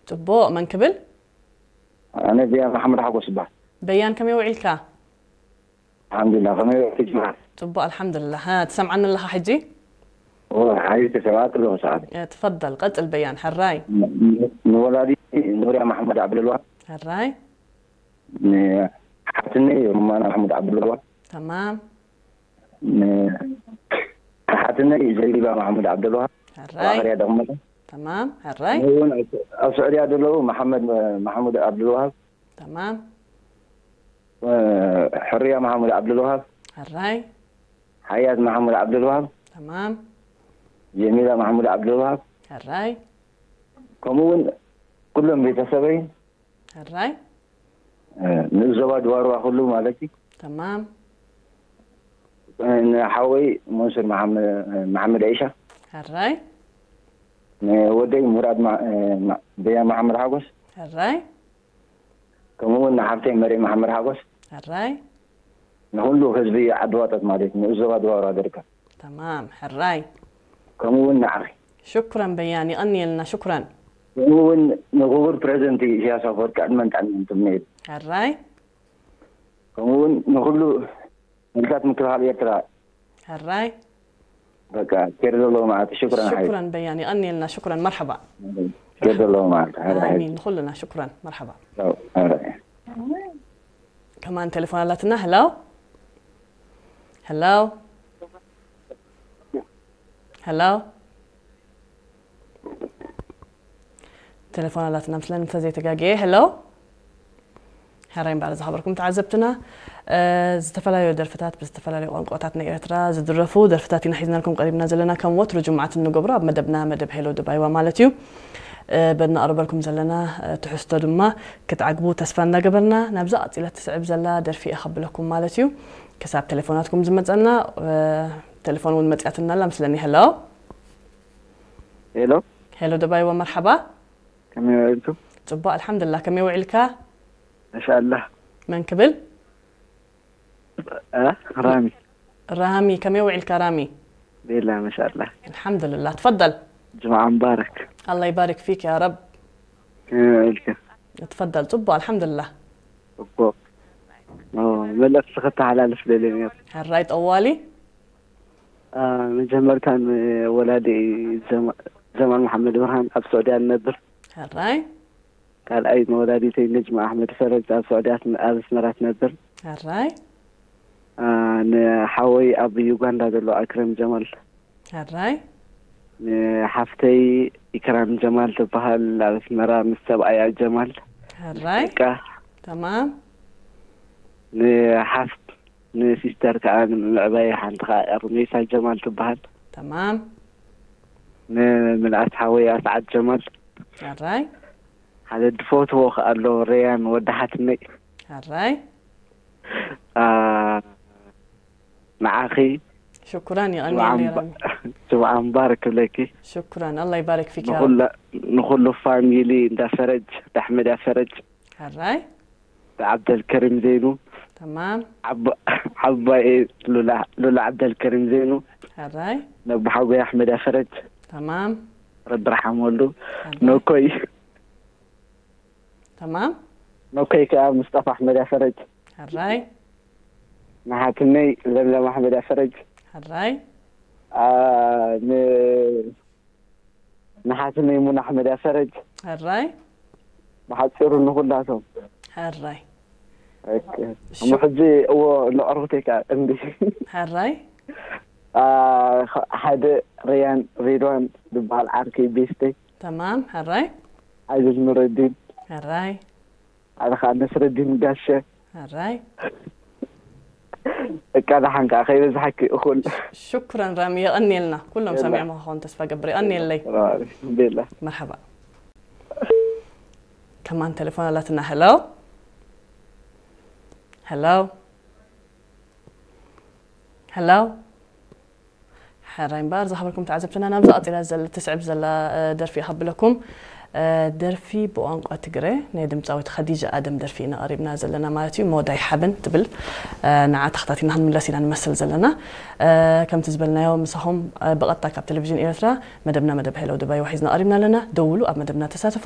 ጽቡቕ፣ መን ክብል? ኣነ ዚያ መሓመድ ሓጎስ ይበሃል። በያን ከመይ ውዒልካ? ኣልሓምዱሊላህ፣ ከመይ ውዒልኪ ጅምዓ? ጽቡቕ ኣልሓምዱሊላህ። ሃ፣ ትሰምዓኒ ኣለኻ ሕጂ? እወ፣ ሓይሽ ተሰማዕኪ ኣለኹ ሰዓት። እ፣ ትፈደል፣ ቀጽል በያን፣ ሕራይ። ን-፣ ንወላዲ ኑርያ መሓመድ ዓብደልዋሃብ፣ ሕራይ። ንሓትነይ ሩማና መሓመድ ዓብደልዋሃብ፣ ተማም። ንሓትነይ ዘቢባ መሓመድ ዓብደልዋሃብ፣ ኣብ ሕራይ። ኣኽርያ ደቕመጠ። ተማም፣ ሕራይ። እውን ኣብ ኣብ ስዑድያ ዘለዉ መሓመድ መሓሙድ ዓብደልዋሃብ፣ ተማም። እ፣ ሕርያ መሓሙድ ዓብደልዋሃብ፣ ሕራይ። ሓያት መሓሙድ ዓብደልዋሃብ፣ ተማም። ጀሚላ መሓሙድ ዓብደልዋሃብ፣ ሕራይ። ከምኡ እውን ኩሎም ቤተሰበይ፣ ሕራይ። እ፣ ንዞባ ድዋርዋ ኩሉ ማለት እዩ። ተማም። እ፣ ንሓወይ መንሱር መሓመ-፣ መሓመድ ዒሻ፣ ሕራይ። ንወደይ ሙራድ ማ-፣ እ፣ ማ-፣ በያ መሓመድ ሓጎስ፣ ሕራይ። ከምኡ እውን ንሓፍተይ መርየ መሓመድ ሓጎስ፣ ሕራይ። ንኹሉ ህዝቢ ዓዲ ዋጠት ማለት እዩ፣ ንኡዞባ ድዋርዋ ደርጋ። ተማም፣ ሕራይ። ከምኡ እውን ንዓኺ። ሽኩረን በያን፣ ይቐንየልና፣ ሽኩረን። ከምኡ እውን ንክቡር ፕሬዚደንት ኢሳያስ ኣፈወርቂ ዕድመን ጥዕናን ትምነየሉ። ሕራይ። ከምኡ እውን ንኹሉ ሓይልታት ምክልኻል ኤርትራ። ሕራይ። በቃ፣ ኬር ዘለዎ መዓልቲ። ሽኩረን ሓይል። ሽኩረን በያን፣ ይቐንየልና፣ ሽኩረን፣ መርሐባ። ኬር ዘለዎ መዓልቲ። ሕራይ ሓይል። ኣሚን፣ ንኹልና፣ ሽኩረን፣ መርሐባ። ቻው፣ ሕራይ። ከማን ቴሌፎን ኣላትና። ሄሎ፣ ሄሎ፣ ሄሎ። ቴሌፎን ኣላትና ምስለን እንተዘይተጋግየ። ሄሎ፣ ሕራይ እምበኣር ዝኸበርኩም ተዓዘብትና፣ እ፣ ዝተፈላለዩ ደርፍታት ብዝተፈላለዩ ቋንቋታት ናይ ኤርትራ ዝድረፉ ደርፍታት ኢና ሒዝናልኩም ቀሪብና ዘለና። ከም ወትሩ ጅምዓት እንገብሮ ኣብ መደብና፣ መደብ ሄሎ ደባይዋ ማለት እዩ። እ፣ በድነቕርበልኩም ዘለና፣ እ፣ ትሕዝቶ ድማ ክትዓግቡ ተስፋ እንዳገበርና፣ ናብዛ ቀጺላ ትስዕብ ዘላ ደርፊ እየ ከብለኩም ማለት እዩ። ክሳብ ቴሌፎናትኩም ዝመጸና፣ እ፣ ቴሌፎን እውን መጽያትና ኣላ ምስለኒ። ሄሎ። ሄሎ። ሄሎ ደባይዋ፣ መርሓባ። ከመይ ውዒልኩም? ጽቡቕ ኣልሓምዱሊላህ። ከመይ ውዒልካ? ማሻኣላህ። መን ክብል? እ? ራሚ። ራሚ፣ ከመይ ውዒልካ ራሚ? ቤላ ማሻኣላህ። ኣልሓምዱሊላህ። ትፈደል። ጅምዓ ሙባረክ። ኣላህ ይባርክ ፊክ ያ ረብ። ከመይ ውዒልካ? ትፈደል። ጽቡቕ ኣልሓምዱሊላህ። ጽቡቕ። ኦ፣ መልእኽቲ ከተሓላልፍ ደልየ ነይሩ። ሕራይ ጠዋሊ። አ፣ መጀመርታ ንወላዲ ጀማ-፣ ጀማል መሓመድ ብርሃን ኣብ ስዑድያ ንነብር። ሕራይ። ካልኣይ ንወላዲተይ ነጅማ ኣሕመድ ፈረጅ ኣብ ስዑድያ ትነ-፣ ኣብ ኣስመራ ትነብር። ሕራይ። አ፣ ንሓወይ ኣብ ዩጋንዳ ዘሎ ኣክረም ጀማል። ሕራይ። ንሓፍተይ ኢክራም ጀማል ትበሃል ኣብ ኣስመራ ምስ ሰብኣያ ጀማል። ሕራይ። ደቃ። ተማም። ንሓፍ-፣ ንሲስተር ከዓ ንምዕባይ ሓንቲ ከዓ ሩሜሳ ጀማል ትበሃል። ተማም። ንምልኣት ሓወይ ኣስዓድ ጀማል። ሕራይ። ሓደ ድፈትዎ ከዓ ኣሎ ረያን ወዲ ሓትነይ። ሕራይ። አ፣ ንዓኺ ሽኩራን፣ ጅምዓ ይቐንየለይ ምባ-፣ ራሚ። ጅምዓ ምባረክ ክብለኪ። ሽኩራን፣ ኣላህ ይባርክ ፊክ ያ ረብ። ንኹላ-፣ ንኹሉ ፋሚሊ እንዳ ፈረጅ፣ ኣሕመድ ፈረጅ፣ ሕራይ። ዓብደልከሪም ዘይኑ፣ ተማም። ዓባ-፣ ዓባይ ሉላ፣ ሉላ ዓብደልከሪም ዘይኑ፣ ሕራይ። ነቦ ሓጎይ ኣሕመድ ፈረጅ፣ ተማም። ረቢ ርሓም ወልዱ፣ ሕራይ። ነኮይ፣ ተማም። ነኮይ ከዓ ምስጠፋ ኣሕመድ ፈረጅ፣ ሕራይ። ንሓትነይ ለምለም ኣሕመድ ፈረጅ፣ ሕራይ። አ፣ ን-፣ ንሓትነይ ሙና ኣሕመድ ፈረጅ፣ ሕራይ። ብሓፂሩ ንኹላቶም። ሕራይ። ኦኬ። እሞ ሕጂ እዎ ንዕሩኽተይ ከዓ እንዲ። ሕራይ። አ፣ ኸ-፣ ሓደ ረያን ሬድዋን ዝበሃል ዓርከይ ቤስተይ። ተማም። ሕራይ። ዓብደል ኑረዲን። ሕራይ። ሓደ ከዓ ነስረዲን ጋሸ። ሕራይ። እቃ ደሓን ከዓ ከይበዝሓኪ እኹል። ሽኩረን ራሚ፣ የቐንየልና። ኩሎም የላ። ሰሚዖም ክኾኑ ተስፋ ገብር። የቐንየለይ። ቤላ። መርሓባ። ከማን ቴሌፎን ኣላትና። ሄሎ። ሄሎ። ሄሎ። ሕራይ እምበኣር ዝኸበርኩም ተዓዘብትና፣ ናብዛ ቀጺላ ዘል-፣ ትስዕብ ዘላ፣ እ፣ ደርፊ እኸብለኩም። እ፣ ደርፊ ብቋንቋ ትግረ ናይ ድምጻዊት ኸዲጃ ኣደም ደርፊ ኢና ቀሪብና ዘለና ማለት እዩ። መወዳይ ሓበን ትብል፣ እ፣ ንዓ ተኸታቲልና ክንምለስ ኢና ንመስል ዘለና። እ፣ ከምቲ ዝበልናዮ ምሳኹም፣ እ፣ ብቐጥታ ካብ ቴሌቪዥን ኤርትራ መደብና መደብ ሄሎ ደባይ ሒዝና ቀሪብና ኣለና። ደውሉ፣ ኣብ መደብና ተሳተፉ።